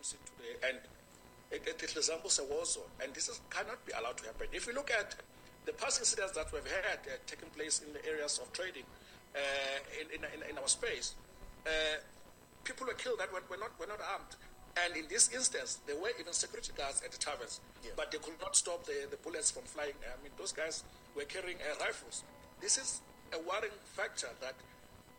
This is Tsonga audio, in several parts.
crime scene today, and it resembles a war zone, and this cannot be allowed to happen. If you look at the past incidents that we've had taking place in the areas of trading in our space, people were killed that were not armed. And in this instance, there were even security guards at the taverns, but they could not stop the bullets from flying. I mean, those guys were carrying rifles. This is a worrying factor that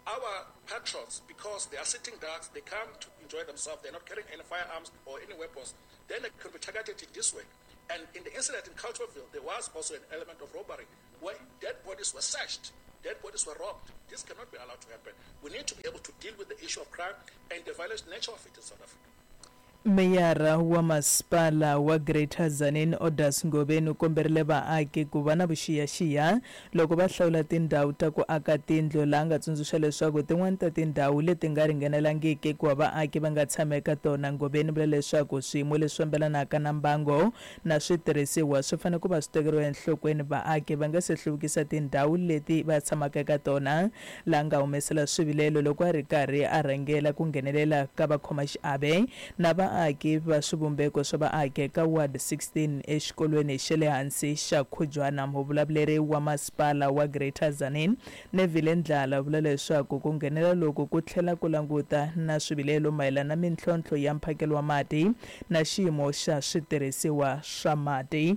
our patrons, because they are sitting ducks, they come to enjoy themselves, they're not carrying any firearms or any weapons, then they can be targeted in this way. And in the incident in Carltonville, there was also an element of robbery where dead bodies were searched, dead bodies were robbed. This cannot be allowed to happen. We need to be able to deal with the issue of crime and the violent nature of it in South Africa. Meyara wa masipala wa Greater Tzaneen, Odas Ngobeni, u komberile vaaki ku va na vuxiyaxiya loko va hlawula tindhawu ta ku aka tindlu, laha nga tsundzuxa leswaku tin'wani ta tindhawu leti nga ringanelangiki ku va vaaki va nga tshama eka tona. Ngobeni vula leswaku swiyimo leswi fambelanaka na mbango na switirhisiwa swi fanele ku va swi tekeriwa enhlokweni vaaki va nga se hluvukisa tindhawu leti va tshamaka eka tona, laha nga humesela swivilelo loko a ri karhi a rhangela ku nghenelela ka vakhomaxiave na vaaki va swivumbeko swa vaaki eka Ward 16 exikolweni xa le hansi xa Khujwana. Muvulavuleri wa masipala wa Greater Tzaneen, Neville Ndlala, vula leswaku ku nghenela loku ku tlhela ku languta na swivilelo mayelana na mintlhontlho ya mphakelo wa mati na xiyimo xa switirhisiwa swa mati.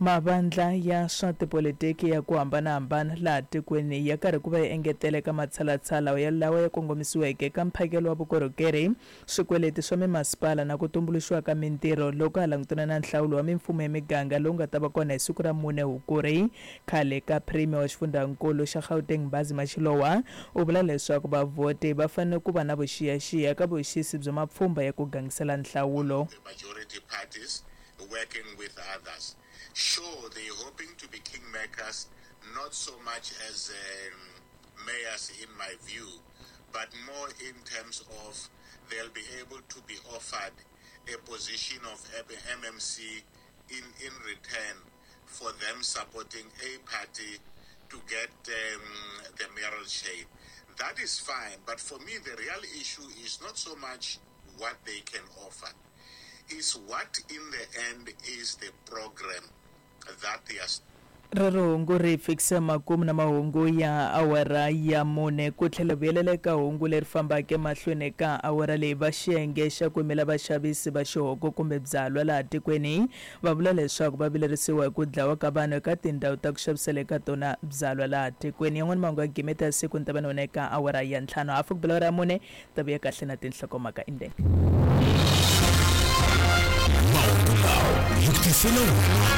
Mavandla ya swa tipolitiki ya ku hambanahambana laha tikweni ya karhi ku va ya engetela eka matshalatshala ya lawa ya kongomisiweke eka mphakelo wa vukorhokeri, swikweleti swa mimasipala na ku tumbuluxiwa ka mintirho loko ha langutana na nhlawulo wa mimfumo ya miganga lowu nga ta va kona hi siku ra 4 Hukuri. Khale ka Premier wa xifundzankulu xa Gauteng, Mbhazima Shilowa, u vula leswaku vavhoti va fanele ku va na vuxiyaxiya ka vuxisi bya mapfhumba ya ku gangisela nhlawulo. The majority parties working with others. Sure, they're hoping to be kingmakers, not so much as mayors in my view, but more in terms of they'll be able to be offered a position of MMC in return for them supporting a party to get the mayoral chair. That is fine, but for me the real issue is not so much what they can offer, is what in the end is the program that they are. Rero hungu ri fikisa makumu na mahungu ya awara ya 4. Ku tlhela vuyelela eka hungu leri fambaka emahlweni ka awara leyi, va xiyenge xa ku yimela vaxavisi va xihoko kumbe byalwa laha tikweni va vula leswaku va vilerisiwa hi ku dlawa ka vanhu eka tindhawu ta ku xavisela eka tona byalwa laha tikweni. Yan'wana mahungu ya gimeta ya siku ni ta va na wena eka awara ya 5, hafu ku bela awara ya 4, ta vuya kahle na tinhlokomhaka indeni. Mahungu lawa hi tisela wona.